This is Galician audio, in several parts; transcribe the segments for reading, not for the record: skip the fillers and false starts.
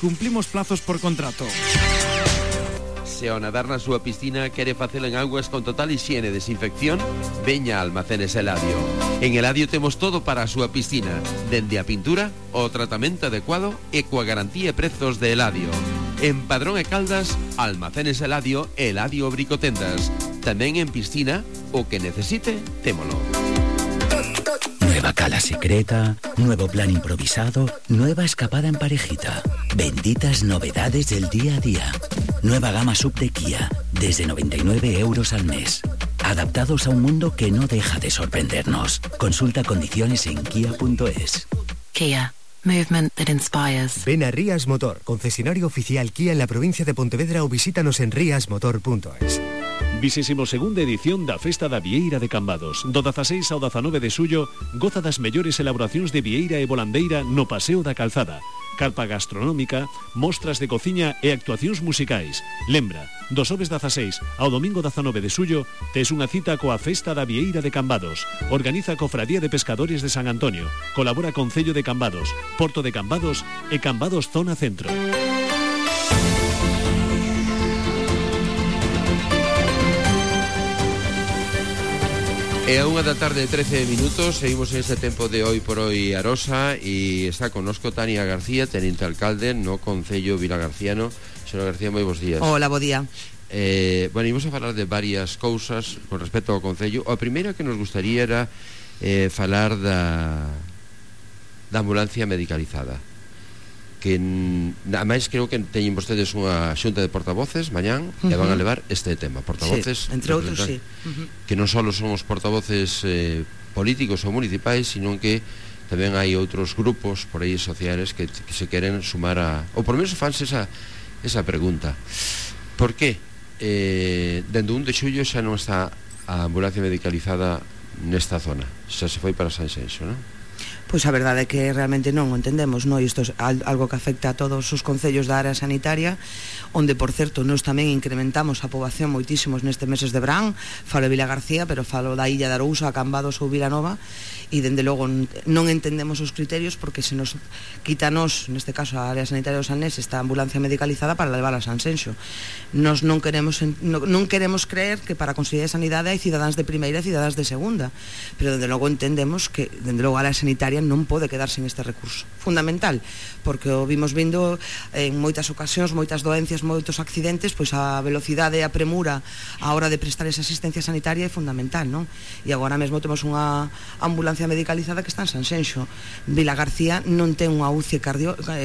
Cumplimos plazos por contrato. Se ao nadar na súa piscina quere facelo en augas con total hixiene e desinfección, veña a Almacenes Eladio. En Eladio temos todo para a súa piscina, dende a pintura, o tratamento adecuado e coa garantía e prezos de Eladio. En Padrón e Caldas, Almacenes Eladio e Eladio Bricotendas. Tamén en piscina, o que necesite, témolo. Nueva cala secreta, nuevo plan improvisado, nueva escapada en parejita. Benditas novedades del día a día. Nueva gama sub de Kia, desde 99 euros al mes. Adaptados a un mundo que no deja de sorprendernos. Consulta condiciones en kia.es. Kia. Movement that inspires. Ven a Rías Motor, concesionario oficial Kia en la provincia de Pontevedra, ou visítanos en riasmotor.es. 22ª edición da Festa da Vieira de Cambados. Do 16 ao 19 de xullo, goza das mellores elaboracións de vieira e volandeira no Paseo da Calzada. Carpa gastronómica, mostras de cociña e actuacións musicais. Lembra, do xoves 16 ao domingo 19 de xullo, tes unha cita coa Festa da Vieira de Cambados. Organiza Cofradía de Pescadores de San Antonio. Colabora Concello de Cambados, Porto de Cambados e Cambados Zona Centro. É a 1 da tarde 13 minutos. Seguimos en este tempo de Hoy por Hoy Arosa e está connosco Tania García, teniente alcalde no Concello Vilagarciano. Señora García, moi bons días. Hola, bo día. Bueno, ímos a falar de varias cousas con respecto ao Concello. A primeira que nos gustaría era falar da ambulancia medicalizada, que ademais creo que teñen vostedes unha xunta de portavoces mañán e van a levar este tema, portavoces, sí, entre outros, sí, que non só son os portavoces políticos ou municipais, sino que tamén hai outros grupos por aí sociales que se queren sumar a, ou por menos fanse esa pregunta: por que dende 1 de xullo xa non está a ambulancia medicalizada nesta zona? Xa se foi para Sanxenxo, non? Pois a verdade é que realmente non o entendemos, non? Isto é algo que afecta a todos os concellos da área sanitaria, onde, por certo, nós tamén incrementamos a poboación moitísimos nestes meses de verán. Falo de Vilagarcía, pero falo da Illa de Arousa, Cambados ou Vilanova, e dende logo non entendemos os criterios, porque se nos quítanos, neste caso a área sanitaria do Sanés, esta ambulancia medicalizada para levar a Sanxenxo. Nos non queremos creer que para a Consellería de Sanidade hai cidadáns de primeira e cidadáns de segunda, pero dende logo entendemos que dende logo a área sanitaria non pode quedarse en este recurso fundamental, porque o vimos vindo en moitas ocasións, moitas doencias, moitos accidentes, pois a velocidade e a premura a hora de prestar esa asistencia sanitaria é fundamental, non? E agora mesmo temos unha ambulancia medicalizada que está en Sanxenxo. Vilagarcía non ten unha UCI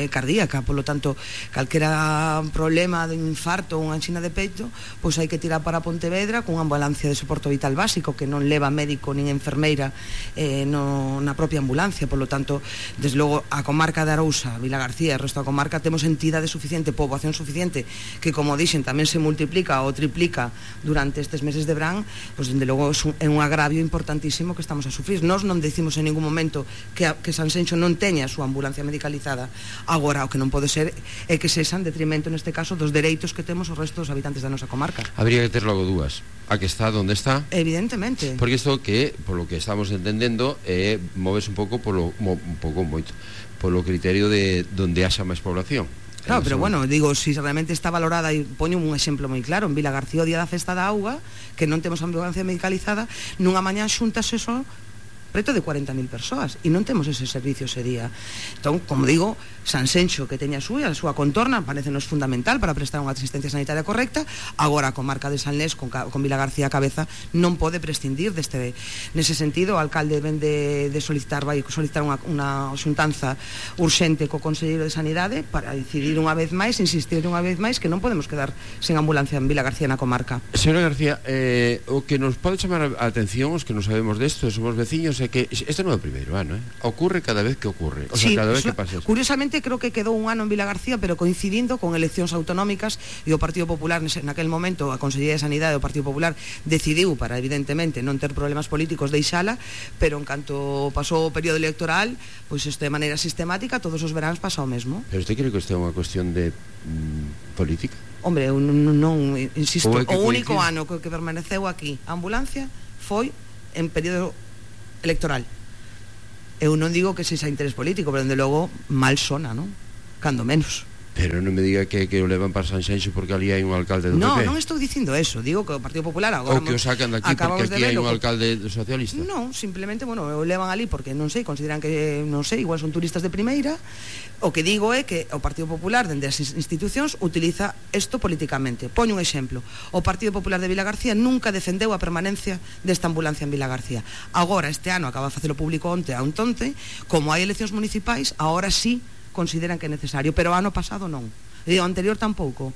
cardíaca, polo tanto, calquera problema de infarto ou unha anxina de peito, pois hai que tirar para Pontevedra con unha ambulancia de soporte vital básico que non leva médico nin enfermeira na propia ambulancia. Por lo tanto, desde logo a comarca de Arousa, Vilagarcía e o resto da comarca temos entidade suficiente, poboación suficiente, que, como dixen, tamén se multiplica ou triplica durante estes meses de verán. Pois dende logo é un agravio importantísimo que estamos a sufrir. Nós non decimos en ningún momento que Sanxenxo non teña a súa ambulancia medicalizada. Agora, o que non pode ser é que sexa en detrimento, neste caso, dos dereitos que temos os restos dos habitantes da nosa comarca. Habría que ter logo dúas: a que está onde está, evidentemente, porque isto que, polo que estamos entendendo, moves un pouco polo criterio de donde haxa máis población. Claro, pero bueno, digo, si realmente está valorada, e poño un exemplo moi claro, en Vilagarcía, o día da festa da auga, que non temos ambulancia medicalizada, nunha mañá xuntas eso preto de 40.000 persoas, e non temos ese servicio ese día. Entón, como digo, Sanxenxo, que teña a súa contorna, parecenos fundamental para prestar unha asistencia sanitaria correcta. Agora a comarca de Sanlés, con Vilagarcía a cabeza, non pode prescindir deste. Nese sentido, o alcalde ven de solicitar, vai solicitar unha xuntanza urxente co Conselleiro de Sanidade para decidir unha vez máis, insistir unha vez máis, que non podemos quedar sen ambulancia en Vilagarcía na comarca. Señora García, o que nos pode chamar a atención, os que non sabemos desto, somos veciños, é que este non é o primeiro ano, ocurre cada vez que ocurre, o sea, cada vez que pasa. Curiosamente, creo que quedou un ano en Vilagarcía, pero coincidindo con eleccións autonómicas, e o Partido Popular naquel momento, a Consellería de Sanidade do Partido Popular decidiu, para evidentemente non ter problemas políticos, deixala, pero en canto pasou o período electoral, pois isto de maneira sistemática todos os veráns pasa o mesmo. Pero usted cree que isto é unha cuestión de política? Hombre, eu non insisto, o único ano que permaneceu aquí a ambulancia foi en período electoral. Eu non digo que sexa interés político, pero dende logo mal sona, non? Cando menos. Pero non me diga que o levan para Sanxenxo porque ali hai un alcalde do PP. Non estou dicindo eso, digo que o Partido Popular agora ou que o sacan daqui porque aquí hai un alcalde socialista. Non, simplemente, bueno, o levan ali porque non sei, consideran que, non sei, igual son turistas de primeira. O que digo é que o Partido Popular dende as institucións utiliza isto políticamente. Poño un exemplo. O Partido Popular de Vilagarcía nunca defendeu a permanencia desta ambulancia en Vilagarcía. Agora, este ano, acaba de facelo público onte, como hai eleccións municipais, agora sí consideran que é necesario, pero o ano pasado non, e o anterior tampouco.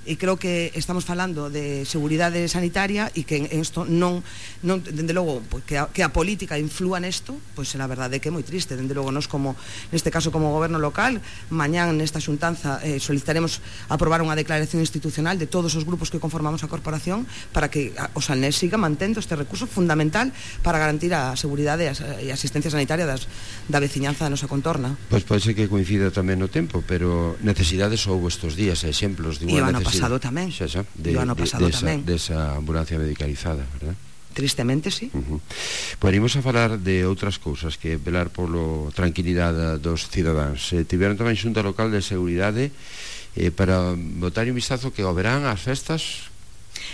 E creo que estamos falando de seguridade sanitaria e que en isto non dende logo, pues, que a política inflúa nesto, pois pues, a verdade é que é moi triste. Dende logo, nós como, neste caso como goberno local, mañán nesta xuntanza solicitaremos aprobar unha declaración institucional de todos os grupos que conformamos a corporación para que o Salnés siga mantendo este recurso fundamental para garantir a seguridade e a asistencia sanitaria da veciñanza da nosa contorna. Pois pode ser que coincida tamén no tempo, pero necesidades houbo estes días, exemplos de unha necesidade pasado tamén. O ano pasado tamén. Desa ambulancia medicalizada, verdad? Tristemente, sí. Poderíamos a falar de outras cousas, que velar polo tranquilidade dos cidadáns. Tiveron tamén xunta local de seguridade para botar un vistazo que ao verán as festas.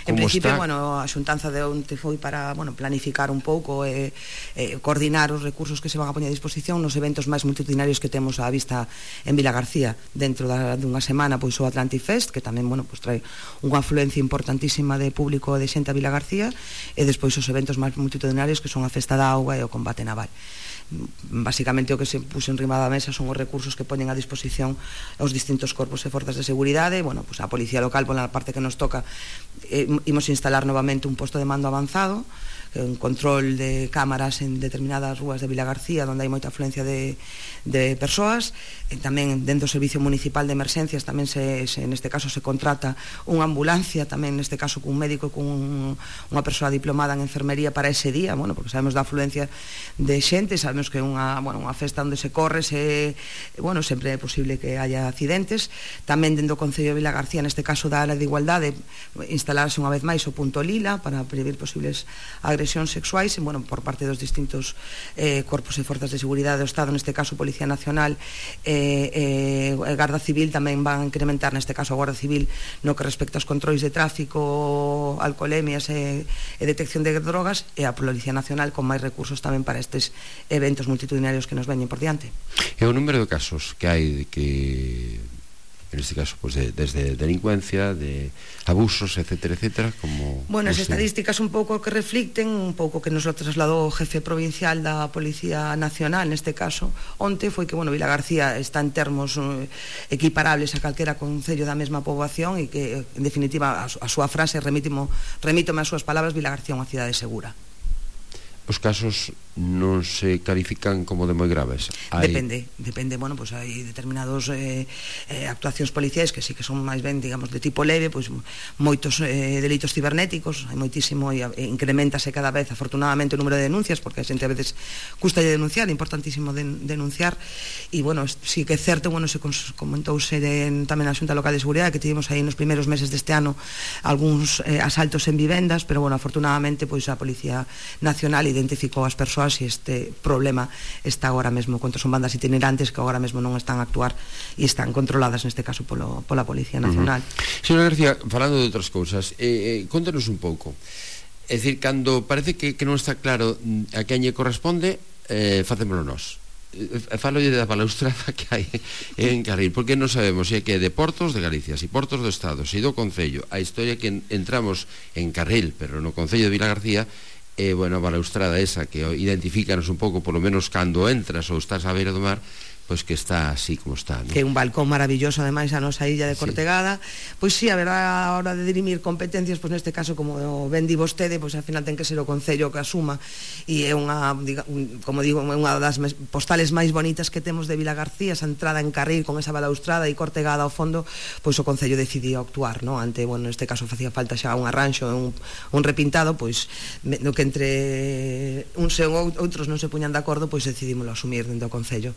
En principio, bueno, a xuntanza de onte foi para, bueno, planificar un pouco e coordinar os recursos que se van a poñer a disposición nos eventos máis multitudinarios que temos á vista en Vilagarcía. Dentro dunha semana, pois o Atlantic Fest, que tamén, bueno, pois trae unha afluencia importantísima de público de xente a Vilagarcía, e despois os eventos máis multitudinarios que son a Festa da Auga e o combate naval. Básicamente o que se puso en riba da mesa son os recursos que poñen a disposición os distintos corpos e forzas de seguridade. Bueno, pues a policía local, pola parte que nos toca, imos instalar novamente un posto de mando avanzado, un control de cámaras en determinadas rúas de Vilagarcía onde hai moita afluencia de persoas. Tamén dentro do Servicio Municipal de Emerxencias tamén neste caso se contrata unha ambulancia, tamén neste caso cun médico e cun unha persoa diplomada en enfermería para ese día, bueno, porque sabemos da afluencia de xente, sabemos que é unha festa onde se corre, bueno, sempre é posible que haya accidentes. Tamén dentro do Concello de Vilagarcía, neste caso da área de igualdade, instalarse unha vez máis o punto lila para prever posibles agresións sexuais, bueno, por parte dos distintos corpos e forzas de seguridade do Estado, neste caso Policía Nacional e Garda Civil tamén van a incrementar, neste caso a Guardia Civil, no que respecta aos controis de tráfico, alcoholemias e detección de drogas, e a Policía Nacional con máis recursos tamén para estes eventos multitudinarios que nos veñen por diante. E o número de casos que hai de que, en este caso, pues desde delincuencia, de abusos, etcétera, etcétera, como... Bueno, as estadísticas un pouco que reflicten, un pouco que nos lo trasladou o jefe provincial da Policía Nacional, neste caso, onte, foi que, bueno, Vilagarcía está en termos equiparables a calquera concello da mesma poboación e que, en definitiva, a súa frase, remítome as súas palabras, Vilagarcía é unha cidade segura. Os casos non se califican como de moi graves? Depende, bueno, pues hai determinados actuacións policiais que sí que son máis ben, digamos, de tipo leve, pois moitos delitos cibernéticos, hai moitísimo, e incrementase cada vez, afortunadamente, o número de denuncias, porque a xente a veces custa de denunciar, é importantísimo denunciar, e, bueno, sí que é certo, bueno, se comentouse tamén na Xunta Local de Seguridade que tivemos aí nos primeiros meses deste ano algúns asaltos en vivendas, pero, bueno, afortunadamente, pois a Policía Nacional identificou as persoas e este problema está agora mesmo, contra son bandas itinerantes que agora mesmo non están a actuar e están controladas neste caso pola Policía Nacional. Señora García, falando de outras cousas, contanos un pouco, é dicir, cando parece que non está claro a quen lle corresponde, facémolo nós. Falo da balaustrada que hai en Carril, porque non sabemos se é que é de Portos de Galicia, se Portos do Estado, se do Concello. A historia que entramos en Carril, pero no Concello de Vilagarcía, bueno, a balaustrada esa que identifícanos un pouco, polo menos cando entras ou estás á beira do mar, pois que está así como está, ¿no? Que é un balcón maravilloso, ademais, a nosa illa de Cortegada. Pois sí, a verdad, a hora de dirimir competencias, pois neste caso, como ben di vostede, pois ao final ten que ser o Concello que asuma, e é unha, como digo, unha das postales máis bonitas que temos de Vilagarcía, esa entrada en Carril con esa balaustrada e Cortegada ao fondo, pois o Concello decidiu actuar, ¿no? Ante, bueno, neste caso facía falta xa un arranxo, un repintado, pois no que entre uns e outros non se puñan de acordo, pois decidímoslo asumir dentro do Concello.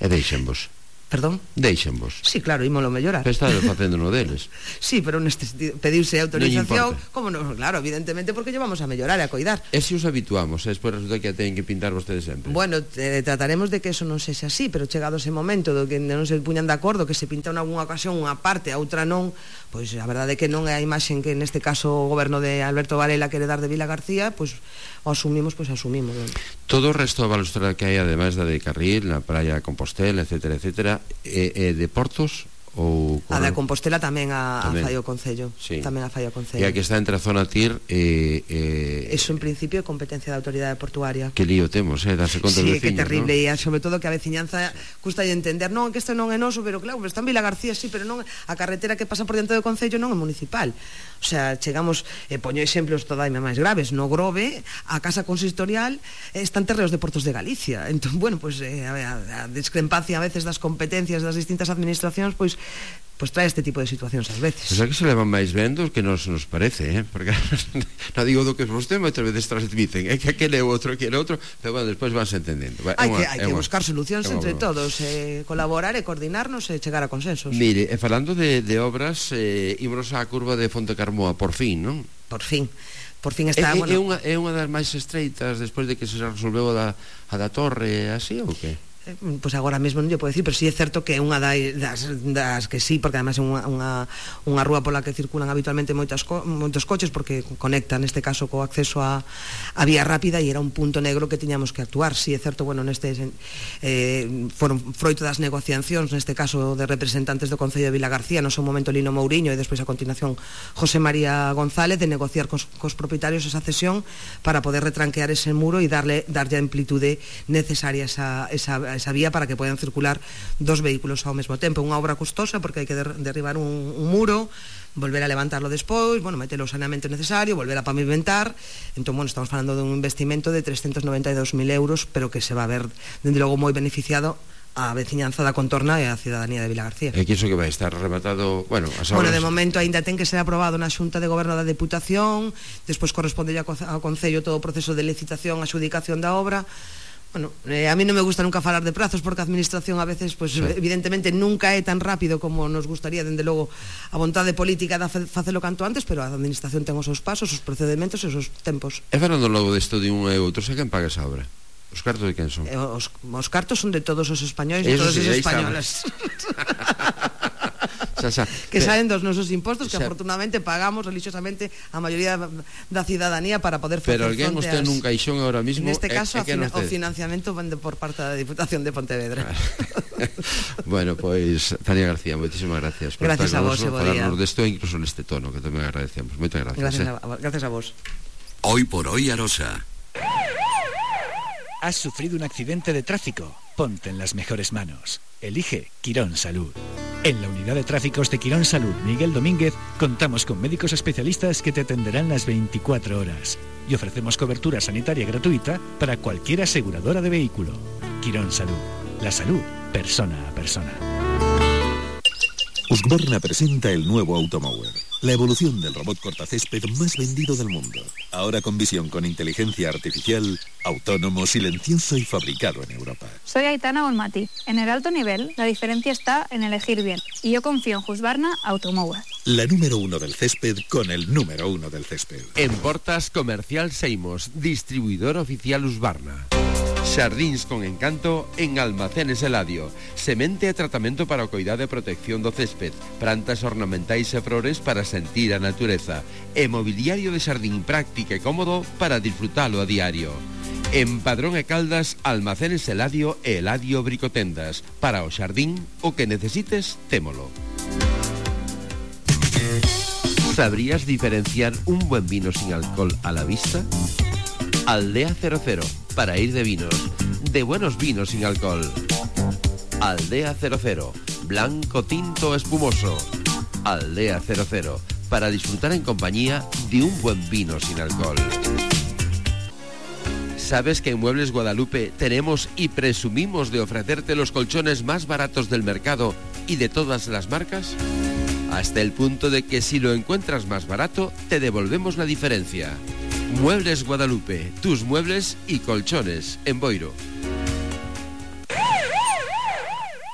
E deixenvos. Perdón? Deixenvos. Sí, claro, ímolo mellorar. Está facendo no deles. Sí, pero neste sentido, pedirse autorización, Non como no, claro, evidentemente porque llevamos a mellorar e a coidar. E se os habituamos, despois resulta que a teñen que pintar vostedes sempre. Bueno, trataremos de que eso non sexa así, pero chegado ese momento do que non se puñan de acordo, que se pinta en algunha ocasión unha parte, a outra non, pois a verdade é que non é a imaxen que neste caso o goberno de Alberto Varela quere dar de Vila García, pois o asumimos, pois asumimos. Non? Todo o resto da balustrada que hai, ademais da de Carril, na praia de Compostela, etcétera, etcétera, de Portos ou a da Compostela tamén a fai o Concello, sí. Tamén a fai o Concello. E a que está entre a zona TIR eso en principio é competencia da autoridade portuaria. Que lío temos, darse conta sí, dos veciños, que terrible, ¿no? E sobre todo que a veciñanza custa de entender, non, que isto non é noso, pero claro, está en Vila García, sí, pero non, a carretera que pasa por diante do Concello non é municipal. O sea, chegamos, poño exemplos todaime máis graves, no Grove, a casa consistorial están terreos de Portos de Galicia. Entón, bueno, pues a discrepancia a veces das competencias das distintas administracións, pois trae este tipo de situacións ás veces. Pois aquí se levan máis vendos que nos parece, porque non digo do que vostede moitas veces transmiten, é que aquele é outro, pero bueno, despois vanse entendendo. Hai que buscar solucións entre todos, colaborar e coordinarnos e chegar a consensos. Mire, falando de obras, ímonos á curva de Fonte Carmoa, por fin, non? Por fin está, bueno... É unha das máis estreitas despois de que se resolveu a da torre, así ou que? Pois agora mesmo non lle podo decir, pero sí é certo que é unha das que sí, porque además é unha rúa pola que circulan habitualmente moitos coches, porque conecta neste caso co acceso a vía rápida, e era un punto negro que tiñamos que actuar. Sí é certo, bueno, foron froito das negociacións, neste caso de representantes do Concello de Vila García, no seu momento Lino Mouriño e despois a continuación José María González, de negociar cos propietarios esa cesión para poder retranquear ese muro e darlle a amplitude necesaria a esa vía para que podan circular dos vehículos ao mesmo tempo. Unha obra custosa porque hai que derribar un muro, volver a levantarlo despois, bueno, meter o saneamento necesario, volver a pavimentar. Entón, bueno, estamos falando dun investimento de 392.000 euros, pero que se va a ver, dende logo, moi beneficiado a veciñanza da contorna e a cidadanía de Vila García. É que iso que vai estar rematado, bueno, as obras... Bueno, de momento aínda ten que ser aprobado na Xunta de Goberno da Deputación, despois corresponde ao Concello todo o proceso de licitación, adxudicación da obra. Bueno, a mí non me gusta nunca falar de prazos, porque a administración a veces, pues, sí, evidentemente nunca é tan rápido como nos gustaría, dende logo a vontade política de facelo canto antes, pero a administración ten os seus pasos, os procedimentos e os seus tempos. E falando logo desto de un e outro, sei quen paga esa obra? Os cartos de quen son? Os cartos son de todos os españois e todas as españolas. Que salen dos nosos impostos, que afortunadamente pagamos religiosamente a maioría da cidadanía para poder facer fronte. Pero alguén usted nun caixón ahora mismo, neste caso o financiamento vende por parte da Diputación de Pontevedra. Bueno, pois Tania García, moitísimas gracias por estar con vos, falarnos desto, incluso neste tono, que tamén agradecemos. Moitas gracias. Gracias a vos. Hoy por hoy, Arosa. ¿Has sufrido un accidente de tráfico? Ponte en las mejores manos. Elige Quirón Salud. En la unidad de tráficos de Quirón Salud Miguel Domínguez contamos con médicos especialistas que te atenderán las 24 horas y ofrecemos cobertura sanitaria gratuita para cualquier aseguradora de vehículo. Quirón Salud. La salud, persona a persona. Husqvarna presenta el nuevo Automower, la evolución del robot cortacésped más vendido del mundo. Ahora con visión con inteligencia artificial, autónomo, silencioso y fabricado en Europa. Soy Aitana Bonmati. En el alto nivel, la diferencia está en elegir bien. Y yo confío en Husqvarna Automower. La número 1 del césped con el número 1 del césped. En Portas Comercial Seimos, distribuidor oficial Husqvarna. Xardíns con encanto en Almacenes Eladio. Semente e tratamento para o coidado e protección do césped, plantas ornamentais e flores para sentir a natureza, e mobiliario de xardín práctico e cómodo para disfrutalo a diario. En Padrón e Caldas, Almacenes Eladio e Eladio Bricotendas. Para o xardín, o que necesites, témolo. ¿Sabrías diferenciar un buen vino sin alcohol a la vista? Aldea 00, para ir de vinos, de buenos vinos sin alcohol. Aldea 00, blanco, tinto, espumoso. Aldea 00, para disfrutar en compañía de un buen vino sin alcohol. ¿Sabes que en Muebles Guadalupe tenemos y presumimos de ofrecerte los colchones más baratos del mercado y de todas las marcas? Hasta el punto de que si lo encuentras más barato, te devolvemos la diferencia. Muebles Guadalupe, tus muebles y colchones en Boiro.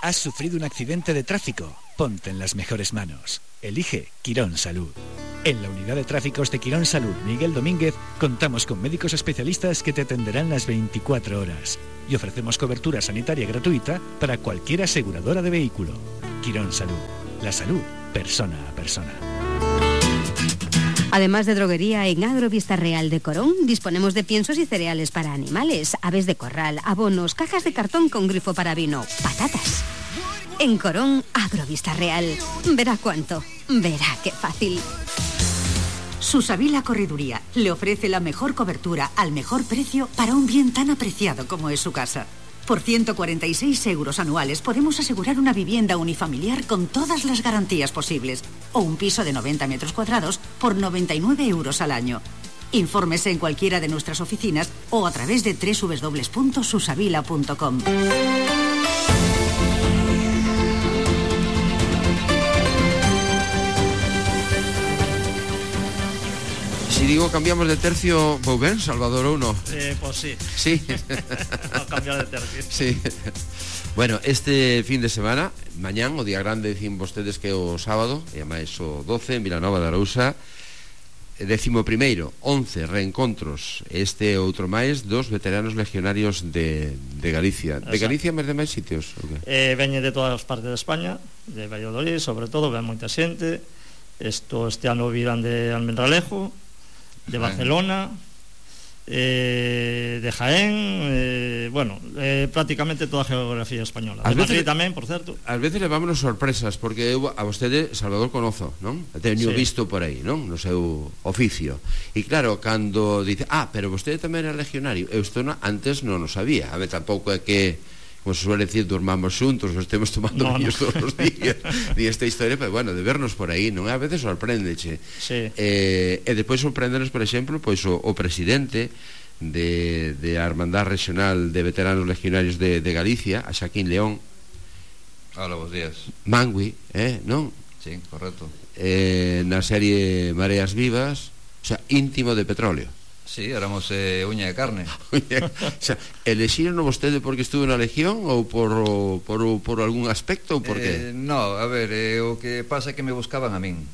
¿Has sufrido un accidente de tráfico? Ponte en las mejores manos. Elige Quirón Salud. En la unidad de tráficos de Quirón Salud Miguel Domínguez contamos con médicos especialistas que te atenderán las 24 horas y ofrecemos cobertura sanitaria gratuita para cualquier aseguradora de vehículo. Quirón Salud. La salud, persona a persona. Además de droguería, en Agrovista Real de Corón disponemos de piensos y cereales para animales, aves de corral, abonos, cajas de cartón con grifo para vino, patatas. En Corón, Agrovista Real. Verá cuánto, verá qué fácil. Susavila Correduría le ofrece la mejor cobertura al mejor precio para un bien tan apreciado como es su casa. Por 146 euros anuales podemos asegurar una vivienda unifamiliar con todas las garantías posibles o un piso de 90 metros cuadrados por 99 euros al año. Infórmese en cualquiera de nuestras oficinas o a través de www.susavila.com. Si digo cambiamos de tercio, ¿vos ven, Salvador, o no? Pues sí. Sí. No, cambiar de tercio. Sí. Bueno, este fin de semana, mañán, o día grande, dicen vostedes que o sábado, e ademais o 12, en Vilanova de Arousa, 11º, 11 reencontros, este outro máis dos veteranos legionarios de Galicia. De Galicia, máis de máis sitios? Okay. Veñe de todas as partes de España, de Valladolid, sobre todo, ven moita xente. Este ano viran de Almendralejo, de Barcelona, de Jaén, prácticamente toda a geografía española. De Madrid tamén, por certo. Ás veces levámonos sorpresas, porque eu a vostede, Salvador, conozo, non? Teño visto por aí, non? No seu oficio. E claro, cando dice, pero vostede tamén era legionario, eu isto antes non o sabía. A ver, tampouco é que, como se suele decir, durmamos xuntos, ou estemos tomando viños todos os días, ni esta historia, pero bueno, de vernos por aí, non? A veces sorpréndeche. Sí. E despois sorpréndenos, por exemplo, pois o presidente de a Hermandad Regional de Veteranos Legionarios de Galicia, a Xaquín León. Hola, bons días. Mangui, non? Sí, correcto. Na serie Mareas Vivas, o sea, íntimo de Petróleo. Sí, éramos uña de carne. O sea, elexiron vostede porque estuvo na Legión ou por algún aspecto ou por que? No, a ver, o que pasa é que me buscaban a min,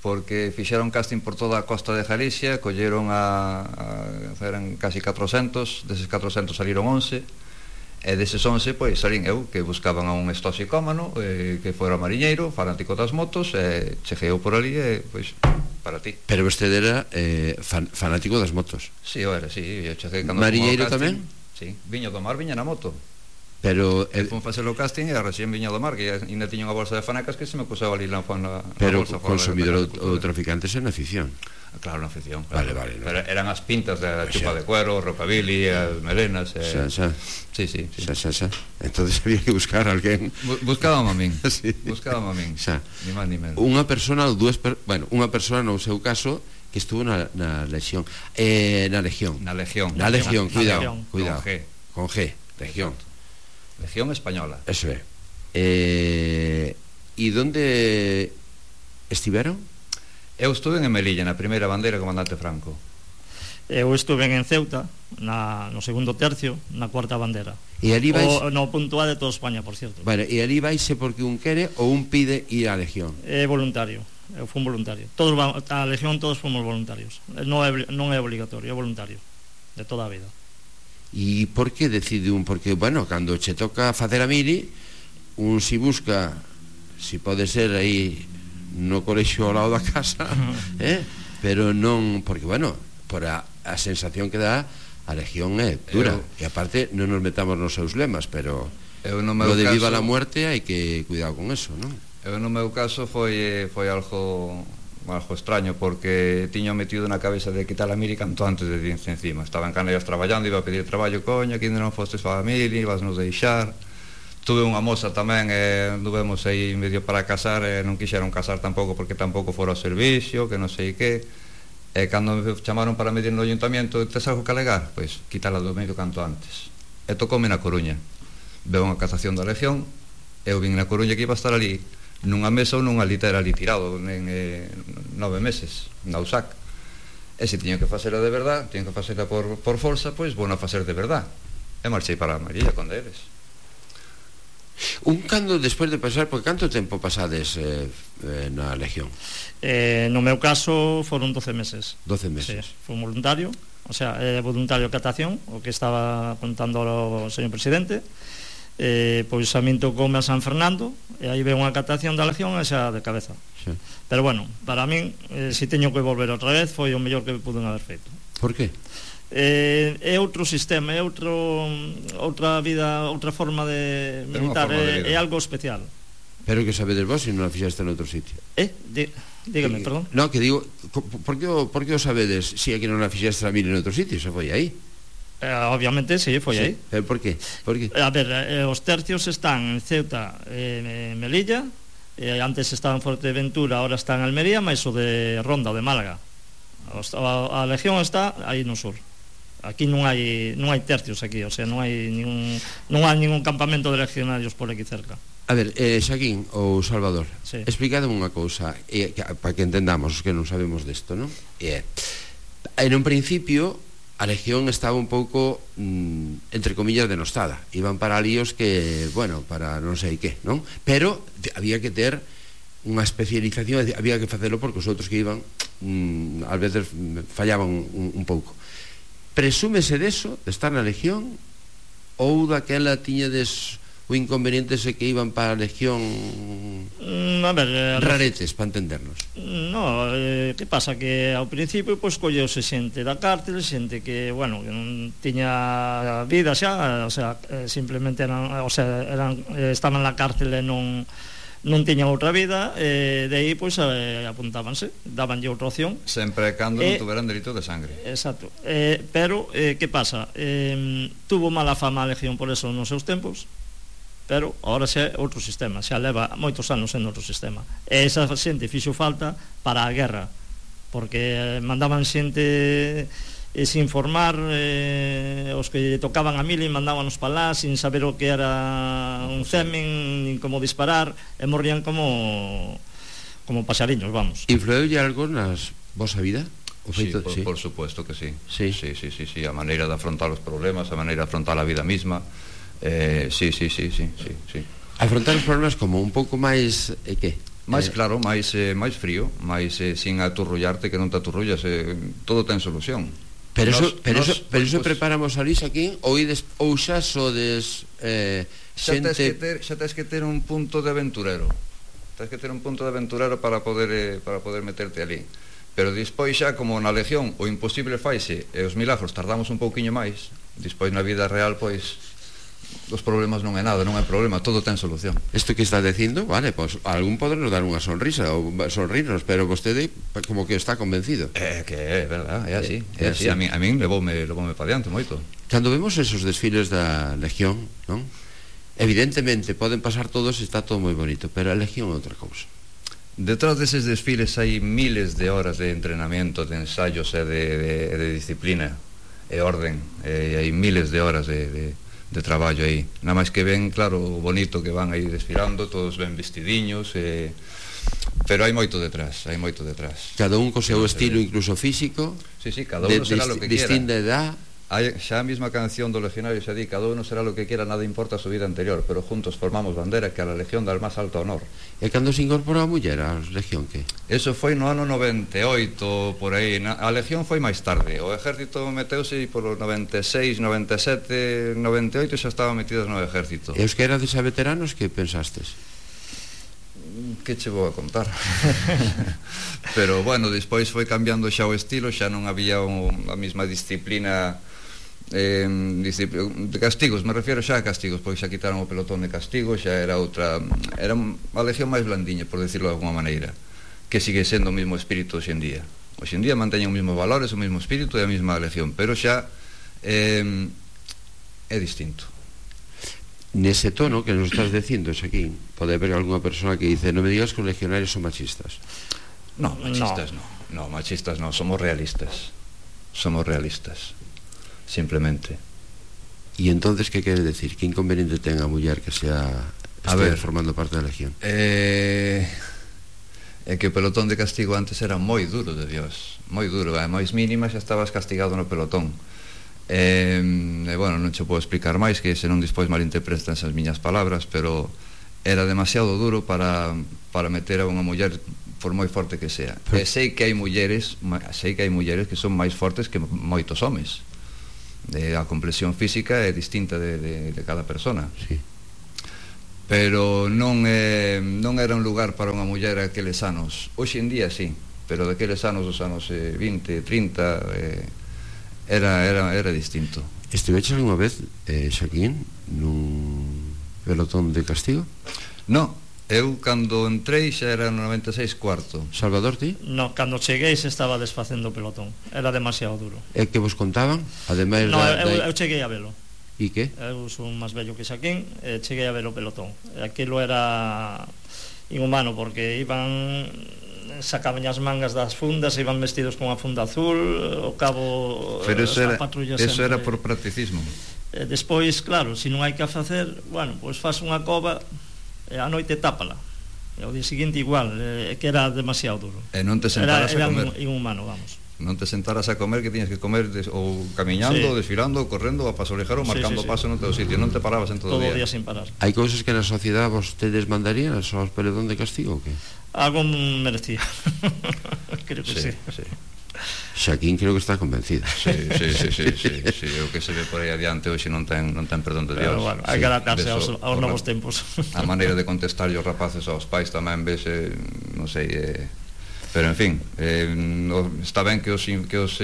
porque fixeron casting por toda a costa de Galicia, colleron eran casi 400, deses 400 saliron 11, e deses 11, pois, salín eu, que buscaban a un estoxicómano, que fora mariñeiro, fanático das motos, e cheguei eu por ali, e, pois, para ti. Pero vostede era fanático das motos. Sí, eu era, sí. Eu cheguei cando mariñeiro tamén? Sí, viño do mar, viña na moto. Pero fun facer o casting e recién viña do mar, que ainda tiña unha bolsa de fanacas que se me acusaba ali na pero bolsa. Pero consumidor ou traficantes en afición. Claro, na afición. Claro. Vale. Pero eran as pintas da chupa de cuero, rockabilly, as melenas. Sí. Entonces había que buscar a alguén. Buscábamos a min. Sí. Buscábamos a min. Ni máis ni menos. Unha persona ou dúas, unha persona no seu caso que estuvo na Legión. Na Legión. Na Legión. Na Legión, cuidado. Con G. Legión. Legión española. Eso é. E onde estiveron? Eu estuve en Melilla, na primeira bandeira, comandante Franco. Eu estuve en Ceuta, no segundo tercio, na cuarta bandera. E ali vais... No punto A de toda España, por cierto. Vale, e ali vaise porque un quere ou un pide ir á Legión? É voluntario, eu fui un voluntario. A Legión todos fomos voluntarios. Non é obligatorio, é voluntario, de toda a vida. E por que decide un? Porque, bueno, cando che toca facer a mili, un si busca, si pode ser aí no colexio ao lado da casa, pero non, porque, bueno, por a sensación que dá, a Legión é dura, e aparte non nos metamos nos seus lemas, pero lo de viva la muerte hai que cuidar con eso, non? Eu no meu caso foi algo extraño, porque tiño metido na cabeza de quitar a mili canto antes de irse encima. Estaba en Canarias traballando, iba a pedir traballo, coño, que ainda non fostes para a mili, ibas nos deixar. Tuve unha moza tamén, anduvemos aí medio para casar, non quixeron casar tampouco porque tampouco fora ao servicio, que non sei que. E cando me chamaron para medir no ayuntamiento, tes algo que alegar? Pois quitala do medio canto antes. E tocoume na Coruña. Veo unha cazación da Legión, eu vin na Coruña que iba a estar ali nunha mesa ou nunha litera ali tirado en 9 meses, na USAC. E se tiño que facela de verdad, tiño que facela por forza, pois vou a facer de verdad. E marchei para a Marilla con deles. Un cando, despois de pasar, por canto tempo pasades na Legión? No meu caso foron 12 meses. 12 meses. Sí, fui voluntario, o sea, voluntario de catación, o que estaba contando o señor presidente. Pois a min tocoume a San Fernando, e aí ve unha catación da Legión e xa de cabeza. Sí. Pero bueno, para min, se teño que volver outra vez, foi o mellor que puden haber feito. Por qué? É outro sistema, é outra vida, outra forma de militar, é algo especial. Pero que sabedes vos se non a fixeste en outro sitio? Dígame, perdón. No, que digo, por que o sabedes se aquí non a fixeste a mí en outro sitio? Se foi aí. Obviamente, sí, foi aí. Pero por qué? A ver, os tercios están en Ceuta e Melilla, antes estaban en Fuerteventura, ahora están en Almería, máis o de Ronda, o de Málaga. A Legión está aí no sur. Aquí non hai tercios aquí, o sea, non hai ningún campamento de legionarios por aquí cerca. A ver, Xaquín ou Salvador, sí. Explicademe unha cousa para que entendamos os que non sabemos desto, non? En un principio a Legión estaba un pouco entre comillas denostada, iban para líos que, bueno, para non sei que, non? Pero había que ter unha especialización, había que facelo porque os outros que iban ás veces fallaban un pouco. Presúmese deso, de estar na Legión, ou daquela tiñedes o inconveniente ese que iban para a Legión raretes, para entendernos? No, que pasa? Que ao principio pois colleuse xente da cárcel, xente que, bueno, que non tiña vida xa, o sea, simplemente estaban na cárcel e non tiñan outra vida, de aí pois apuntábanse, dabanlle outra opción sempre cando non tuveran delito de sangre. Exacto, pero que pasa? Tuvo mala fama a Legión por eso nos seus tempos, pero agora xa é outro sistema, xa leva moitos anos en outro sistema, e esa xente fixo falta para a guerra, porque mandaban xente sin formar, os que tocaban a mili mandábanos para lá sin saber o que era un semen nin como disparar, e morrían como pasariños, vamos. Influeulle algo nas vosa vida? Sí, por supuesto que sí. Sí, a maneira de afrontar os problemas, a maneira de afrontar a vida misma. Sí. Afrontar os problemas como un pouco máis que? Máis claro, máis frío, máis sin aturrullarte, que non te aturrullas, todo ten solución. Pero iso preparamos a Luis aquí, ou xa sodes xente... Xa tens que ter un punto de aventurero. Tens que ter un punto de aventurero para poder meterte ali. Pero despois xa, como na Legión, o imposible faise e os milagros tardamos un pouquiño máis, despois na vida real, pois os problemas non é nada, non é problema, todo ten solución. Isto que está dicindo, vale, pois algún podernos dar unha sonrisa ou sonrirnos, pero vostede como que está convencido. Que é verdad, é así, é así. A min levoume para diante moito. Cando vemos esos desfiles da Legión, non? Evidentemente poden pasar todos e está todo moi bonito, pero a Legión é outra cousa. Detrás deses desfiles hai miles de horas de entrenamiento, de ensayos e de disciplina e orden, e hai miles de horas de traballo aí, nada máis que ven, claro, o bonito que van aí desfilando, todos ben vestidiños, pero hai moito detrás. Cada un co seu estilo, incluso físico. Sí, cada uno será lo que quiera. Distinta edad. Xa a mesma canción do Legionario xa di, cada uno será lo que quiera, nada importa a su vida anterior, pero juntos formamos bandera que a la Legión dá el máis alto honor. E cando se incorporou a muller a Legión, que? Eso foi no ano 98, por aí. A Legión foi máis tarde. O exército meteuse por 96, 97, 98 xa estaban metidos no exército. E os que erades a veteranos, que pensastes? Que che vou a contar? Pero, bueno, despois foi cambiando xa o estilo, xa non había a mesma disciplina de castigos, me refiero xa a castigos, pois xa quitaron o pelotón de castigo, xa era outra, era unha Legión máis blandiña, por decirlo de alguma maneira, que sigue sendo o mesmo espírito hoxe en día. Hoxe en día manteñen os mesmos valores, o mesmo espírito e a mesma Legión, pero xa é distinto. Nese tono que nos estás dicindo aquí, pode haber algunha persona que dice, non me digas que os legionarios son machistas. No, machistas non, somos realistas, simplemente. E entonces que quere decir? Que inconveniente ten a muller que estea formando parte da Legión? É que o pelotón de castigo antes era moi duro, de Dios, moi duro, a máis mínima xa estabas castigado no pelotón. Bueno, non che podo explicar máis, que se non despois malinterpretan esas miñas palabras, pero era demasiado duro para meter a unha muller por moi forte que sea. E sei que hai mulleres que son máis fortes que moitos homes. A complexión física é distinta de cada persona. Sí. Pero non era un lugar para unha muller aqueles anos. Hoxe en día sí, pero daqueles anos, os anos 20, 30, era distinto. Estiveches algunha vez, Xaquín, nun pelotón de castigo? No, eu cando entrei xa era no 96 cuarto. Salvador, ti? No, cando cheguei se estaba desfacendo o pelotón. Era demasiado duro. E que vos contaban? Ademais no, eu cheguei a velo. E que? Eu son máis vello que Xaquín, cheguei a ver o pelotón. Aquilo era inhumano, porque iban, sacaban as mangas das fundas, iban vestidos con a funda azul, o cabo. Pero eso era por practicismo. Despois, claro, se non hai que facer, bueno, pois faz unha cova e a noite tápala. E ao día seguinte igual, que era demasiado duro. E non te sentaras a comer. Era inhumano, vamos. Non te sentaras a comer, que tiñas que comer ou camiñando, sí, desfilando, ou correndo, a paso lejero, marcando paso no teu sitio, non te parabas en todo o día. Todo o día sin parar. Hai cousas que na sociedade vostedes mandarían aos pelotón de castigo, ou que? Algo merecía. Creo que sí. Xaquín creo que está convencido. Sí, o que se ve por aí adiante hoxe non ten perdón de Dios. Pero bueno, hai que adaptarse aos novos tempos. A maneira de contestar os rapaces aos pais tamén vese, non sei, pero en fin, está ben que os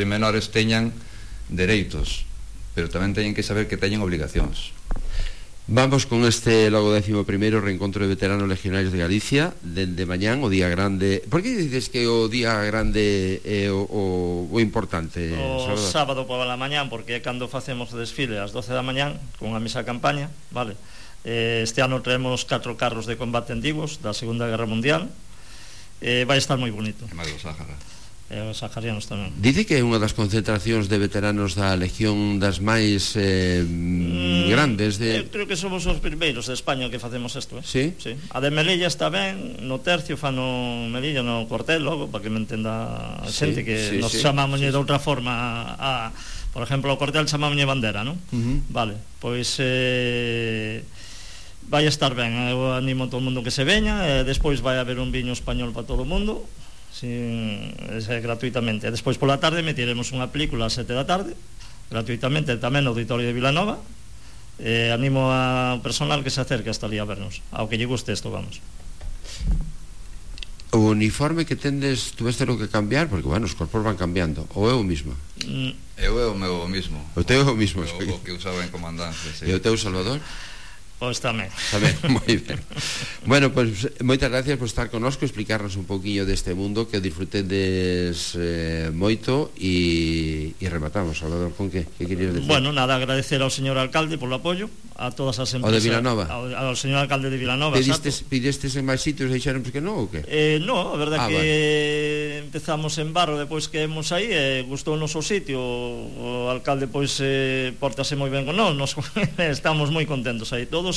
menores teñan dereitos, pero tamén teñen que saber que teñen obligacións. Vamos con este logo 11º reencontro de veteranos legionarios de Galicia dende mañán, o día grande. Por que dices que o día grande é o importante? O sábado pola mañán, porque é cando facemos o desfile ás 12 da mañán con a misa campaña, vale? Este ano traemos 4 carros de combate antigos da Segunda Guerra Mundial. Vai estar moi bonito. E máis do Sáhara. E os saharianos tamén. Dice que é unha das concentracións de veteranos da Legión das máis grandes de... Eu creo que somos os primeiros de España que facemos isto, Sí? Sí. A de Melilla está ben, no tercio fan no Melilla, no cuartel, logo, para que me entenda a xente, que nos chamamos de outra forma a... Por exemplo, o cuartel chamamos bandera, non? Vale, pois... vai estar ben, eu animo a todo o mundo que se veña, e despois vai haber un viño español para todo o mundo, gratuitamente. E despois pola tarde metiremos unha película ás 7 da tarde, gratuitamente, tamén no Auditorio de Vilanova. Animo ao personal que se acerque hasta ali a vernos, ao que lle guste isto, vamos. O uniforme que tendes, tuveste lo que cambiar, porque, bueno, os corpos van cambiando, ou é o mismo? Eu é o meu mismo. O teu é o mismo. O que usaba en comandancia, sí. E o teu, Salvador? Pois tamén. Moi ben. Bueno, pois moitas gracias por estar connosco, explicarnos un pouquiño deste mundo, que disfrutedes moito e rematamos. Salvador, con que querías decir? Bueno, nada, agradecer ao señor alcalde polo apoio, a todas as empresas. O de Vilanova? Ao señor alcalde de Vilanova, Pidestes en máis sitios e dixeron que non, ou que? No, a verdade que empezamos en Barro, depois que hemos aí, gustou o noso sitio, o alcalde pois portase moi ben con nós, estamos moi contentos aí todos.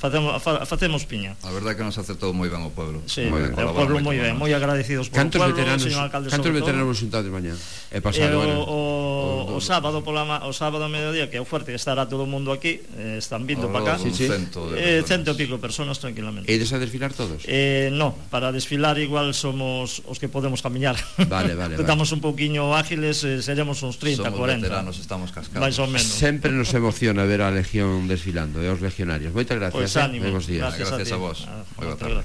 Facemos piña. A verdade que nos acertou moi ben o pueblo. Sí, o pueblo moi ben, moi agradecidos por o pueblo, señor alcalde. Cantos veteranos xuntados de mañá? O sábado a mediodía, que é o fuerte, que estará todo o mundo aquí, están vindo para cá. Cento e pico personas tranquilamente. E ides a desfilar todos? No, para desfilar igual somos os que podemos camiñar. Vale. Estamos un pouquiño ágiles, seremos uns 30, 40. Somos veteranos, estamos cascados. Mais ou menos. Sempre nos emociona ver a Legión desfilando, e aos legionarios. Moitas gracias. Pues ánimo. Gracias a vos.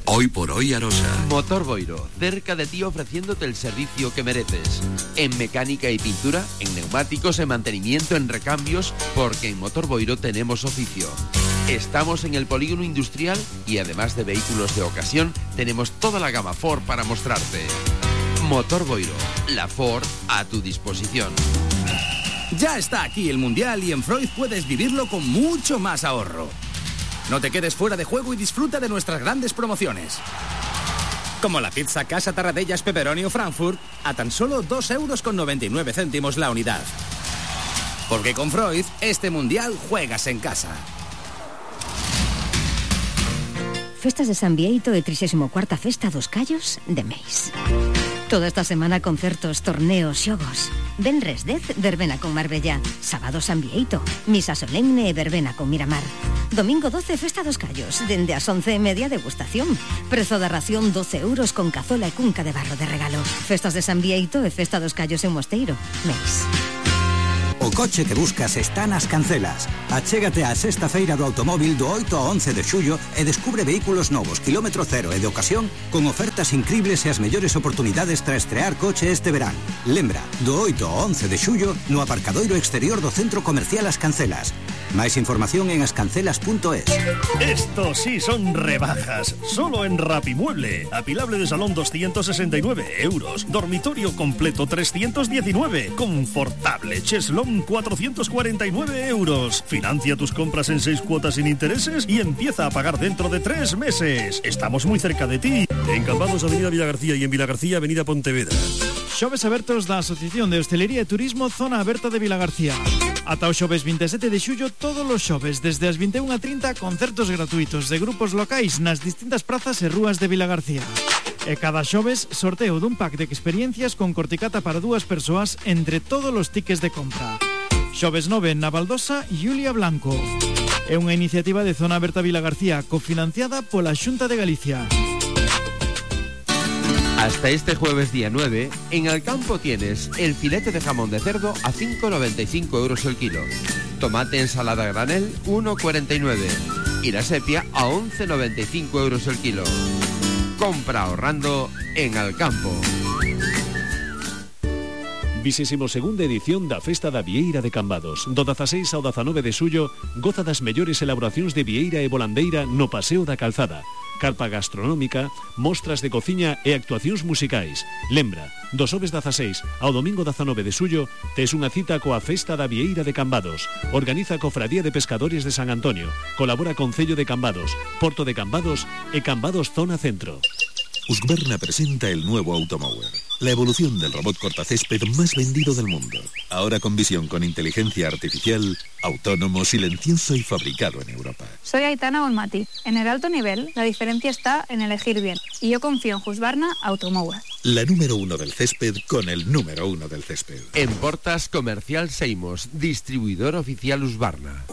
Hoy por hoy Arosa. Motor Boiro, cerca de ti ofreciéndote el servicio que mereces. En mecánica y pintura, en neumáticos, en mantenimiento, en recambios, porque en Motor Boiro tenemos oficio. Estamos en el polígono industrial y además de vehículos de ocasión, tenemos toda la gama Ford para mostrarte. Motor Boiro, la Ford a tu disposición. Ya está aquí el Mundial y en Freud puedes vivirlo con mucho más ahorro. No te quedes fuera de juego y disfruta de nuestras grandes promociones. Como la pizza Casa Tarradellas Pepperoni o Frankfurt a tan solo 2,99 € la unidad. Porque con Freud, este Mundial juegas en casa. Festas de San Bieito e 34ª Festa dos Callos de Meis. Toda esta semana concertos, torneos, xogos. Venres 10, verbena con Marbella. Sábado San Bieito, misa solemne e verbena con Miramar. Domingo 12, festa dos callos. Dende as 11:30, degustación. Prezo da ración 12 euros con cazola e cunca de barro de regalo. Festas de San Bieito e festa dos callos en Mosteiro. Mes. O coche que buscas está nas Cancelas. Achégate á sexta feira do automóvil do 8 ao 11 de xullo e descubre vehículos novos, kilómetro cero e de ocasión con ofertas incribles e as mellores oportunidades para estrear coche este verán. Lembra, do 8 ao 11 de xullo no aparcadoiro exterior do Centro Comercial As Cancelas. Máis información en ascancelas.es. Estos sí son rebajas. Solo en Rapimueble. Apilable de salón 269 euros. Dormitorio completo 319. Confortable cheslón 449 euros. Financia tus compras en 6 cuotas sin intereses y empieza a pagar dentro de 3 meses. Estamos muy cerca de ti. En Cambados, Avenida Vilagarcía, y en Vilagarcía, Avenida Pontevedra. Xoves abertos da Asociación de Hostelería e Turismo Zona Aberta de Vilagarcía. Ata o xoves 27 de xullo, todos os xoves, desde as 21:30, concertos gratuitos de grupos locais nas distintas prazas e rúas de Vilagarcía. E cada xoves, sorteo dun pack de experiencias con corticata para 2 persoas entre todos os tickets de compra. Xoves 9 na Baldosa, Julia Blanco. É unha iniciativa de Zona Aberta Vilagarcía, cofinanciada pola Xunta de Galicia. Hasta este jueves día 9, en Alcampo tienes el filete de jamón de cerdo a 5,95 euros el kilo. Tomate ensalada granel 1,49. Y la sepia a 11,95 euros el kilo. Compra ahorrando en Alcampo. 22ª edición da Festa da Vieira de Cambados. Do 16 ao 19 de xullo, goza das mellores elaboracións de vieira e volandeira no Paseo da Calzada. Carpa gastronómica, mostras de cociña e actuacións musicais. Lembra, do xoves 16 ao domingo 19 de xullo, tes unha cita coa Festa da Vieira de Cambados. Organiza Cofradía de Pescadores de San Antonio. Colabora Concello de Cambados, Porto de Cambados e Cambados Zona Centro. Husqvarna presenta el nuevo Automower, la evolución del robot cortacésped más vendido del mundo. Ahora con visión con inteligencia artificial, autónomo, silencioso y fabricado en Europa. Soy Aitana Olmati. En el alto nivel, la diferencia está en elegir bien. Y yo confío en Husqvarna Automower. La número 1 del césped con el número 1 del césped. En Portas Comercial Seimos, distribuidor oficial Husqvarna.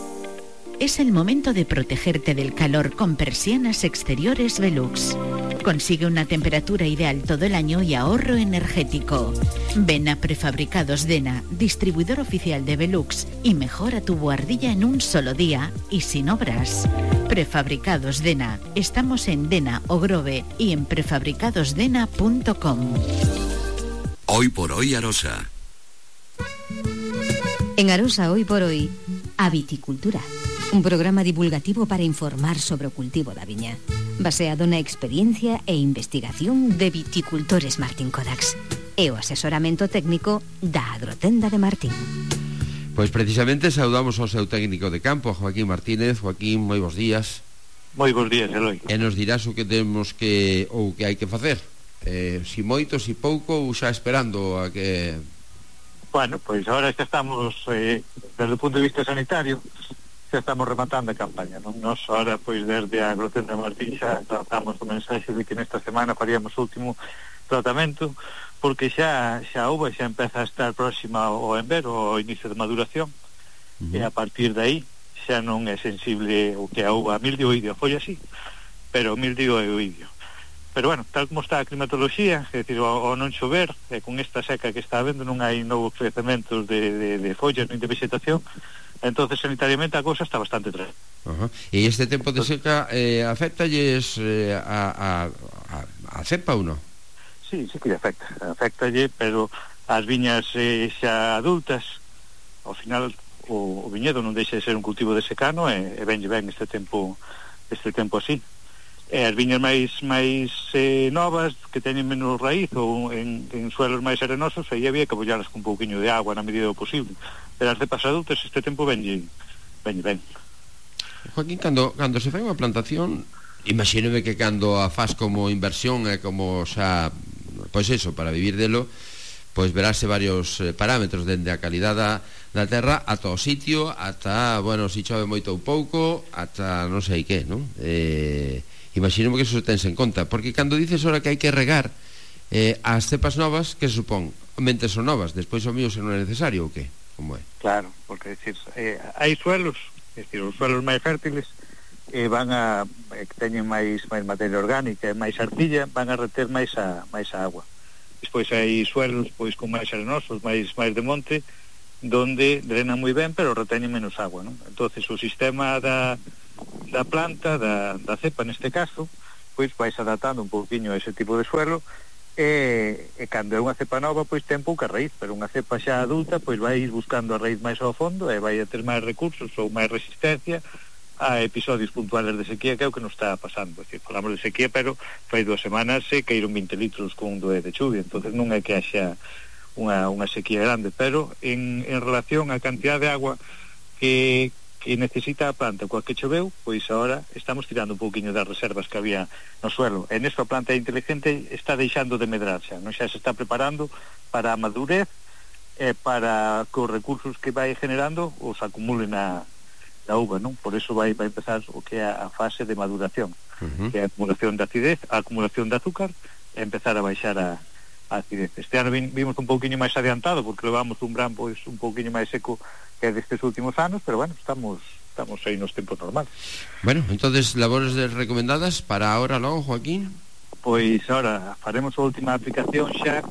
Es el momento de protegerte del calor con persianas exteriores Velux. Consigue una temperatura ideal todo el año y ahorro energético. Ven a Prefabricados Dena, distribuidor oficial de Velux, y mejora tu buhardilla en un solo día y sin obras. Prefabricados Dena. Estamos en Dena o Grove y en prefabricadosdena.com. Hoy por hoy Arosa. En Arosa Hoy por Hoy, a Viticultura. Un programa divulgativo para informar sobre o cultivo da viña, baseado na experiencia e investigación de viticultores Martín Codax e o asesoramento técnico da Agrotenda de Martín. Pois precisamente saudamos ao seu técnico de campo, Joaquín Martínez. Joaquín, moi bons días. Moi bons días, Eloi. E nos dirás o que temos que ou que hai que facer. Si moito, si pouco, ou xa esperando a que... Bueno, pois agora xa estamos desde o punto de vista sanitario, xa estamos rematando a campaña, non? Nos ahora, pois, desde a Agrotenda de Martín xa tratamos o mensaxe de que nesta semana faríamos o último tratamento, porque xa a uva xa empeza a estar próxima ao envero, ao inicio de maduración, e a partir de aí xa non é sensible o que a uva, a mildio e oidio, foi así, pero o mildio e o oidio. Pero bueno, tal como está a climatoloxía, é dicir, ao non chover, e con esta seca que está habendo, non hai novos crecementos de follas nin de vegetación, entonces sanitariamente a cousa está bastante tranquila. E este tempo de seca afectalles a cepa ou non? Sí que afectalle, pero as viñas xa adultas, ao final o viñedo non deixa de ser un cultivo de secano e venlle ben este tempo así. E as viñas máis novas, que teñen menos raíz ou en suelos máis arenosos, aí había que apoiarlas con un pouquiño de agua na medida do posible. Pero as cepas adultas este tempo venlle ben. Joaquín, cando se fai unha plantación, imagínome que cando a faz como inversión e como xa, pois eso, para vivir delo, pois verase varios parámetros, dende a calidade da terra ata o sitio, ata, bueno, se chove moito ou pouco, ata non sei que, non? Imagínome que eso tense en conta, porque cando dices ahora que hai que regar, As cepas novas, que se supón? Mente son novas, despois o mío se non é necesario ou que? Como é? Claro, porque decir, hai suelos, é dicir, os suelos máis fértiles van a que teñen máis materia orgánica e máis arcilla, van a reter máis a agua. Despois hai suelos pois con máis arenosos, máis de monte, donde drenan moi ben, pero reteñen menos agua, non? Entonces o sistema da planta, da cepa neste caso, pois vais adaptando un pouquiño a ese tipo de suelo, e cando é unha cepa nova, pois ten pouca raíz, pero unha cepa xa adulta, pois vai buscando a raíz máis ao fondo e vai a ter máis recursos ou máis resistencia a episodios puntuales de sequía, que é o que nos está pasando. Es decir, falamos de sequía, pero fai 2 semanas se caíron 20 litros con un doe de chuvia, entonces non é que haxa unha sequía grande, pero en relación á cantidad de agua que necesita a planta coa que choveu, pois agora estamos tirando un pouquiño das reservas que había no suelo. En esta planta inteligente está deixando de medrar xa, non? Xa se está preparando para a madurez e para que os recursos que vai generando os acumulen na uva, non? Por eso vai empezar o que é a fase de maduración, que é a acumulación de acidez, a acumulación de azúcar e empezar a baixar a acidez. Este ano vimos un pouquiño máis adiantado porque levamos un verán pois un pouquiño máis seco que destes últimos anos, pero bueno, estamos aí nos tempos normales. Bueno, entonces, labores recomendadas para ahora logo, Joaquín? Pois ahora faremos a última aplicación xa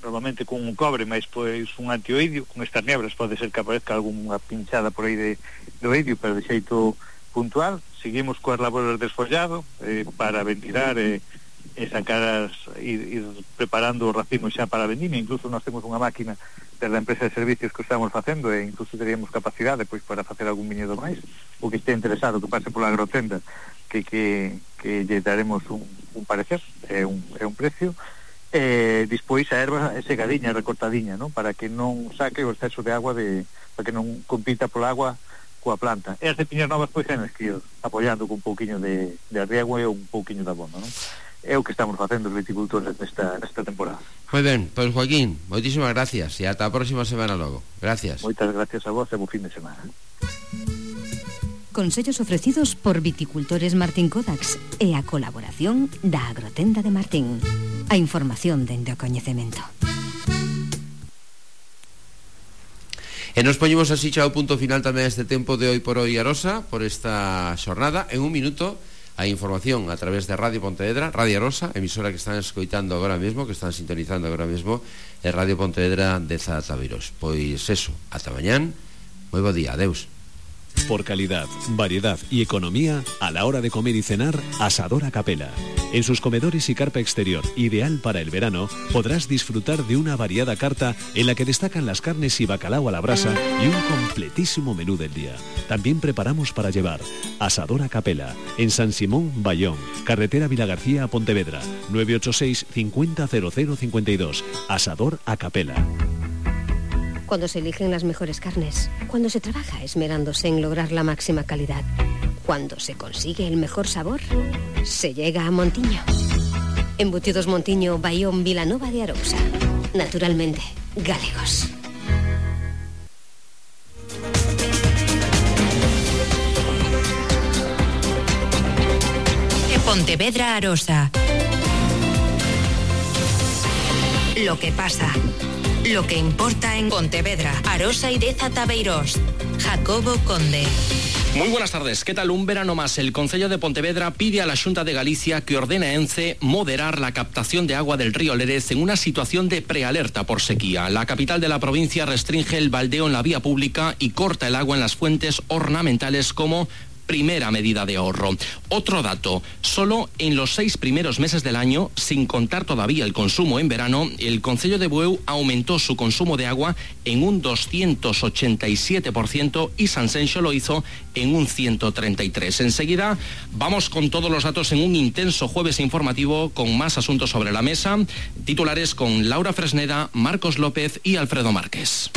normalmente con un cobre, máis pois un antioidio. Con estas nebras pode ser que aparezca algunha pinchada por aí de oidio, pero de xeito puntual. Seguimos coas labores de desfollado para ventilar e sacar ir preparando os racimos xa para a vendimia. Incluso nós temos unha máquina da empresa de servicios que estamos facendo e incluso teríamos capacidade pois para facer algún viñedo máis, o que este interesado que pase pola agrotenda que lle daremos un parecer, é un precio. Despois a erva é segadiña, recortadiña, non? Para que non saque o exceso de agua, para que non compita pola agua coa planta. E as de piñas novas pois ten que ir apoiando con un pouquiño de riego e un pouquiño de abono, non? É o que estamos facendo os viticultores nesta temporada. Moi ben, pois Joaquín, moitísimas gracias e ata a próxima semana logo. Gracias. Moitas gracias a vos e bo fin de semana. Consellos ofrecidos por Viticultores Martín Kodax e a colaboración da Agrotenda de Martín. A información dende o coñecemento. E nos poñemos así xa o punto final tamén este tempo de Hoy por Hoy Arosa, por esta xornada. En un minuto a información a través de Radio Pontevedra, Radio Arosa, emisora que están escoitando agora mesmo, que están sintonizando agora mesmo, é Radio Pontevedra de Zatabeiros. Pois eso, ata mañán, moi bo día, adeus. Por calidad, variedad y economía, a la hora de comer y cenar, Asador a Capela. En sus comedores y carpa exterior, ideal para el verano, podrás disfrutar de una variada carta en la que destacan las carnes y bacalao a la brasa y un completísimo menú del día. También preparamos para llevar. Asador a Capela, en San Simón, Bayón, carretera Vilagarcía a Pontevedra, 986 50 00 52. Asador a Capela. Cuando se eligen las mejores carnes, cuando se trabaja esmerándose en lograr la máxima calidad, cuando se consigue el mejor sabor, se llega a Montiño. Embutidos Montiño, Bayón, Vilanova de Arousa. Naturalmente, galegos. De Pontevedra, Arosa. Lo que pasa. Lo que importa en Pontevedra, Arosa y Deza Tabeiros. Jacobo Conde. Muy buenas tardes. ¿Qué tal? Un verano más. El Concello de Pontevedra pide a la Xunta de Galicia que ordene a ENCE moderar la captación de agua del río Lérez en una situación de prealerta por sequía. La capital de la provincia restringe el baldeo en la vía pública y corta el agua en las fuentes ornamentales como primera medida de ahorro. Otro dato, solo en los 6 primeros meses del año, sin contar todavía el consumo en verano, el Concello de Bueu aumentó su consumo de agua en un 287% y Sanxenxo lo hizo en un 133%. Enseguida vamos con todos los datos en un intenso jueves informativo con más asuntos sobre la mesa. Titulares con Laura Fresneda, Marcos López y Alfredo Márquez.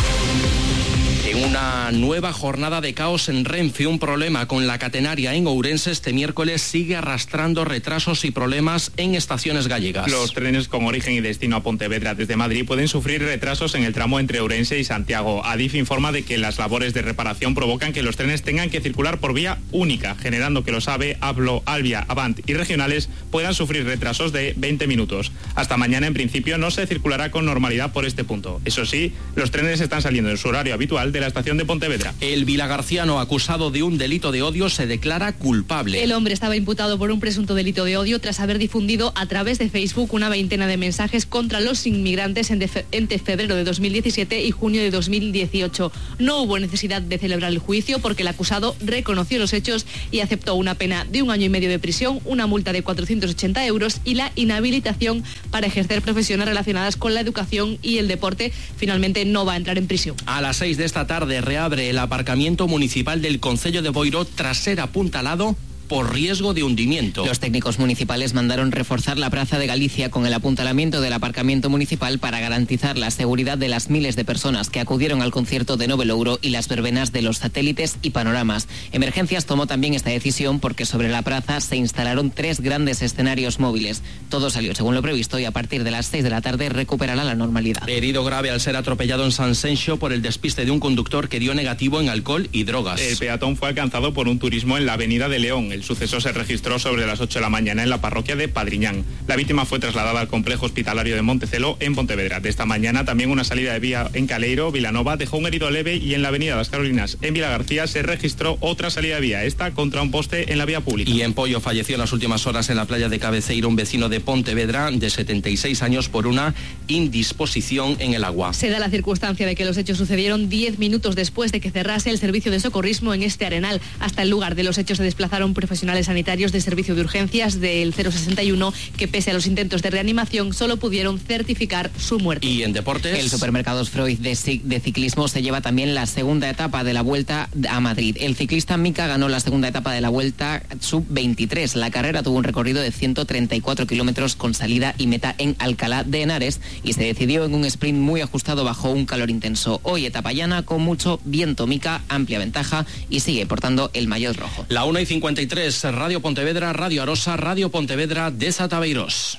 En una nueva jornada de caos en Renfe, un problema con la catenaria en Ourense este miércoles sigue arrastrando retrasos y problemas en estaciones gallegas. Los trenes con origen y destino a Pontevedra desde Madrid pueden sufrir retrasos en el tramo entre Ourense y Santiago. Adif informa de que las labores de reparación provocan que los trenes tengan que circular por vía única, generando que los AVE, Ablo, Albia, Avant y regionales puedan sufrir retrasos de 20 minutos. Hasta mañana, en principio, no se circulará con normalidad por este punto. Eso sí, los trenes están saliendo en su horario habitual de la estación de Pontevedra. El vilagarciano acusado de un delito de odio se declara culpable. El hombre estaba imputado por un presunto delito de odio tras haber difundido a través de Facebook una veintena de mensajes contra los inmigrantes entre febrero de 2017 y junio de 2018. No hubo necesidad de celebrar el juicio porque el acusado reconoció los hechos y aceptó una pena de 1 año y medio de prisión, una multa de 480 euros y la inhabilitación para ejercer profesiones relacionadas con la educación y el deporte. Finalmente no va a entrar en prisión. A las 6 de esta tarde reabre el aparcamiento municipal del Concello de Boiro tras ser apuntalado por riesgo de hundimiento. Los técnicos municipales mandaron reforzar la Praza de Galicia con el apuntalamiento del aparcamiento municipal para garantizar la seguridad de las miles de personas que acudieron al concierto de Nove Louro y las verbenas de los satélites y panoramas. Emergencias tomó también esta decisión porque sobre la plaza se instalaron 3 grandes escenarios móviles. Todo salió según lo previsto y a partir de las 6 de la tarde recuperará la normalidad. Herido grave al ser atropellado en San Senxo por el despiste de un conductor que dio negativo en alcohol y drogas. El peatón fue alcanzado por un turismo en la avenida de León. El suceso se registró sobre las 8 de la mañana en la parroquia de Padriñán. La víctima fue trasladada al complejo hospitalario de Montecelo en Pontevedra. De esta mañana también una salida de vía en Caleiro, Vilanova, dejó un herido leve y en la avenida Las Carolinas en Vilagarcía se registró otra salida de vía, esta contra un poste en la vía pública. Y en Pollo falleció en las últimas horas en la playa de Cabeceiro un vecino de Pontevedra de 76 años por una indisposición en el agua. Se da la circunstancia de que los hechos sucedieron 10 minutos después de que cerrase el servicio de socorrismo en este arenal. Hasta el lugar de los hechos se desplazaron profesionales sanitarios de servicio de urgencias del 061 que pese a los intentos de reanimación solo pudieron certificar su muerte. Y en deportes, el Supermercados Freud de ciclismo se lleva también la segunda etapa de la Vuelta a Madrid. El ciclista Mica ganó la segunda etapa de la Vuelta Sub-23. La carrera tuvo un recorrido de 134 kilómetros con salida y meta en Alcalá de Henares y se decidió en un sprint muy ajustado bajo un calor intenso. Hoy etapa llana con mucho viento. Mica amplia ventaja y sigue portando el maillot rojo. La 1:53, Radio Pontevedra, Radio Arosa, Radio Pontevedra, Deza Beirós.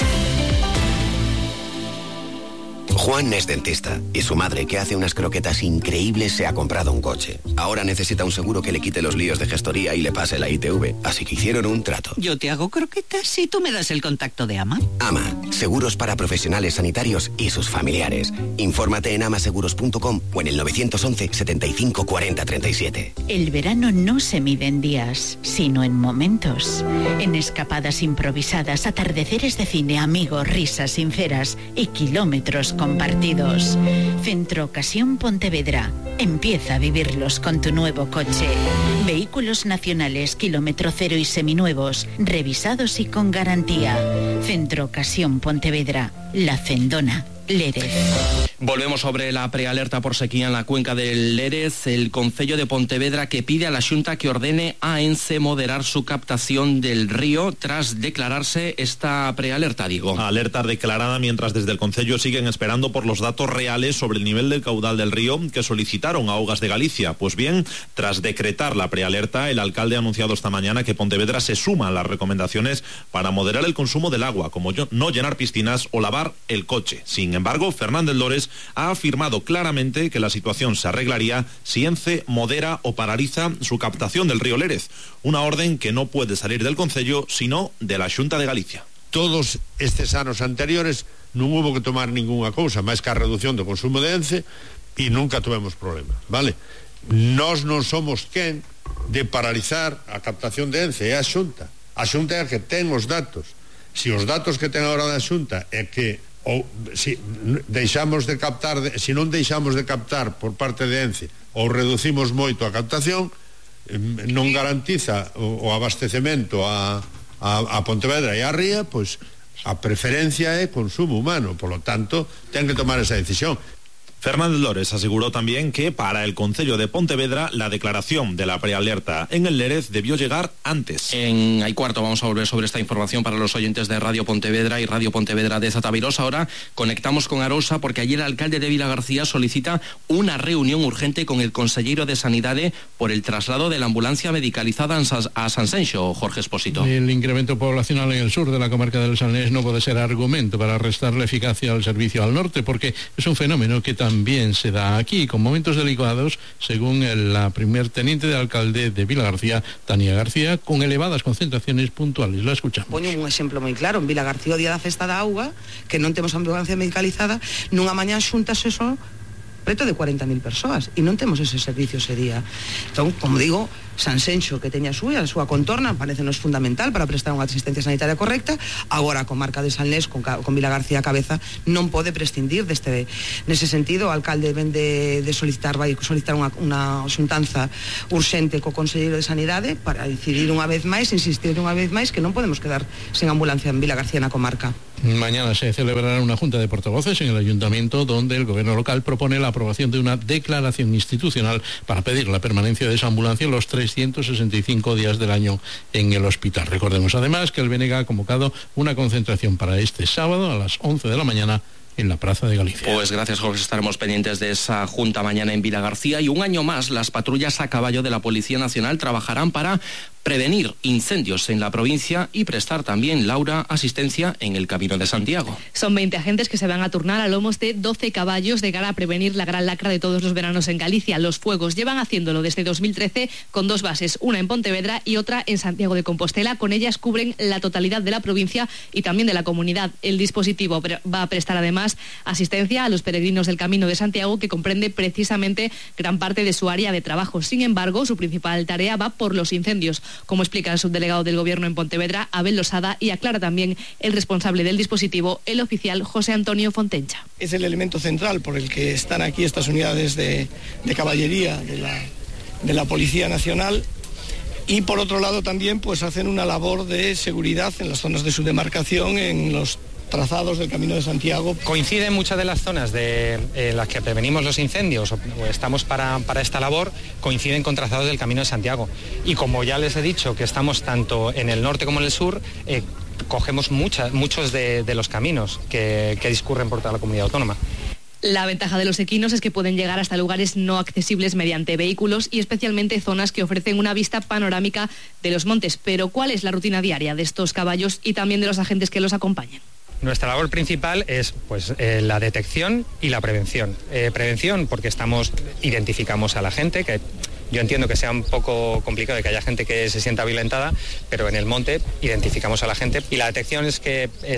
Juan es dentista y su madre, que hace unas croquetas increíbles, se ha comprado un coche. Ahora necesita un seguro que le quite los líos de gestoría y le pase la ITV, así que hicieron un trato. Yo te hago croquetas y tú me das el contacto de AMA. AMA, seguros para profesionales sanitarios y sus familiares. Infórmate en amaseguros.com o en el 911 75 40 37. El verano no se mide en días, sino en momentos. En escapadas improvisadas, atardeceres de cine, amigos, risas sinceras y kilómetros compartidos. Centro Ocasión Pontevedra. Empieza a vivirlos con tu nuevo coche. Vehículos nacionales, kilómetro cero y seminuevos, revisados y con garantía. Centro Ocasión Pontevedra. La Fendona. Lérez. Volvemos sobre la prealerta por sequía en la cuenca del Lérez. El Concello de Pontevedra que pide a la Xunta que ordene a ENCE moderar su captación del río tras declararse esta prealerta, digo. Alerta declarada mientras desde el Concello siguen esperando por los datos reales sobre el nivel del caudal del río que solicitaron a Augas de Galicia. Pues bien, tras decretar la prealerta, el alcalde ha anunciado esta mañana que Pontevedra se suma a las recomendaciones para moderar el consumo del agua, como no llenar piscinas o lavar el coche. Sin embargo, Fernández Lores ha afirmado claramente que la situación se arreglaría si ENCE modera o paraliza su captación del río Lérez, una orden que no puede salir del Concello, sino de la Xunta de Galicia. Todos estes anos anteriores non hubo que tomar ningunha cousa máis que a reducción do consumo de ENCE e nunca tivemos problema, vale? Nós non somos quen de paralizar a captación de ENCE, é a Xunta. A Xunta é a que ten os datos. Se os datos que ten agora da Xunta é que ou se deixamos de captar, se non deixamos de captar por parte de ENCE ou reducimos moito a captación, non garantiza o abastecemento a Pontevedra e a Ría, pois a preferencia é consumo humano, polo tanto ten que tomar esa decisión. Fernández Lores aseguró también que para el Concello de Pontevedra la declaración de la prealerta en el Lérez debió llegar antes. En Hay Cuarto vamos a volver sobre esta información para los oyentes de Radio Pontevedra y Radio Pontevedra de Zataviros. Ahora conectamos con Arosa porque ayer el alcalde de Vilagarcía solicita una reunión urgente con el consellero de Sanidade por el traslado de la ambulancia medicalizada a Sanxenxo, Jorge Espósito. El incremento poblacional en el sur de la comarca del Salnés no puede ser argumento para restarle eficacia al servicio al norte, porque es un fenómeno que también se da aquí, con momentos delicados, según la primer teniente de alcalde de Vilagarcía, Tania García, con elevadas concentraciones puntuales. La escuchamos. Poño un exemplo moi claro, en Vilagarcía o día da festa da auga, que non temos ambulancia medicalizada, nunha mañá xúntase só preto de 40.000 persoas e non temos ese servicio ese día. Entón, como digo, Sanxenxo, que teña a súa contorna, parecenos fundamental para prestar unha asistencia sanitaria correcta. Agora a comarca de Salnés, con Vilagarcía a cabeza, non pode prescindir deste. Nese sentido, o alcalde vai solicitar unha xuntanza urxente co conselleiro de Sanidade para decidir unha vez máis, insistir unha vez máis, que non podemos quedar sen ambulancia en Vilagarcía na comarca. Mañana se celebrará una junta de portavoces en el ayuntamiento donde el gobierno local propone la aprobación de una declaración institucional para pedir la permanencia de esa ambulancia los 365 días del año en el hospital. Recordemos además que el BNG ha convocado una concentración para este sábado a las 11 de la mañana en la Plaza de Galicia. Pues gracias, Jorge, estaremos pendientes de esa junta mañana en Vilagarcía. Y un año más las patrullas a caballo de la Policía Nacional trabajarán para prevenir incendios en la provincia y prestar también, Laura, asistencia en el Camino de Santiago. Son 20 agentes que se van a turnar a lomos de 12 caballos de cara a prevenir la gran lacra de todos los veranos en Galicia, los fuegos. Llevan haciéndolo desde 2013 con dos bases, una en Pontevedra y otra en Santiago de Compostela. Con ellas cubren la totalidad de la provincia y también de la comunidad. El dispositivo va a prestar además asistencia a los peregrinos del Camino de Santiago, que comprende precisamente gran parte de su área de trabajo. Sin embargo, su principal tarea va por los incendios, como explica el subdelegado del Gobierno en Pontevedra, Abel Losada, y aclara también el responsable del dispositivo, el oficial José Antonio Fontencha. Es el elemento central por el que están aquí estas unidades de caballería de la Policía Nacional, y por otro lado también pues hacen una labor de seguridad en las zonas de su demarcación, en los trazados del Camino de Santiago. Coinciden muchas de las zonas en las que prevenimos los incendios o estamos para esta labor, coinciden con trazados del Camino de Santiago. Y como ya les he dicho que estamos tanto en el norte como en el sur, cogemos muchos de los caminos que discurren por toda la comunidad autónoma. La ventaja de los equinos es que pueden llegar hasta lugares no accesibles mediante vehículos y especialmente zonas que ofrecen una vista panorámica de los montes. Pero ¿cuál es la rutina diaria de estos caballos y también de los agentes que los acompañan? Nuestra labor principal es la detección y la prevención. Prevención porque identificamos a la gente, que yo entiendo que sea un poco complicado y que haya gente que se sienta violentada, pero en el monte identificamos a la gente. Y la detección es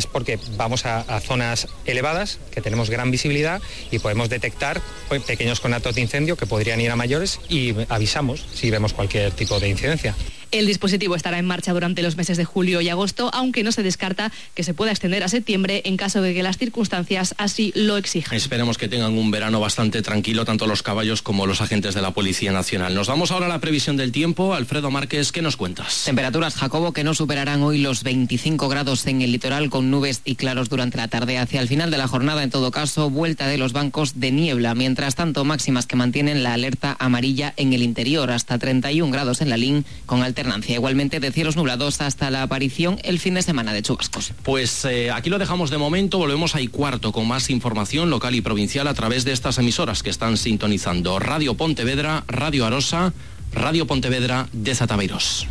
porque vamos a zonas elevadas, que tenemos gran visibilidad y podemos detectar pequeños conatos de incendio que podrían ir a mayores y avisamos si vemos cualquier tipo de incidencia. El dispositivo estará en marcha durante los meses de julio y agosto, aunque no se descarta que se pueda extender a septiembre en caso de que las circunstancias así lo exijan. Esperemos que tengan un verano bastante tranquilo, tanto los caballos como los agentes de la Policía Nacional. Nos vamos ahora a la previsión del tiempo. Alfredo Márquez, ¿qué nos cuentas? Temperaturas, Jacobo, que no superarán hoy los 25 grados en el litoral, con nubes y claros durante la tarde. Hacia el final de la jornada, en todo caso, vuelta de los bancos de niebla. Mientras tanto, máximas que mantienen la alerta amarilla en el interior, hasta 31 grados en la LIN, con alternancia. Igualmente de cielos nublados hasta la aparición el fin de semana de chubascos. Pues aquí lo dejamos de momento. Volvemos a Y4 con más información local y provincial a través de estas emisoras que están sintonizando: Radio Pontevedra, Radio Arosa, Radio Pontevedra de Zataviros.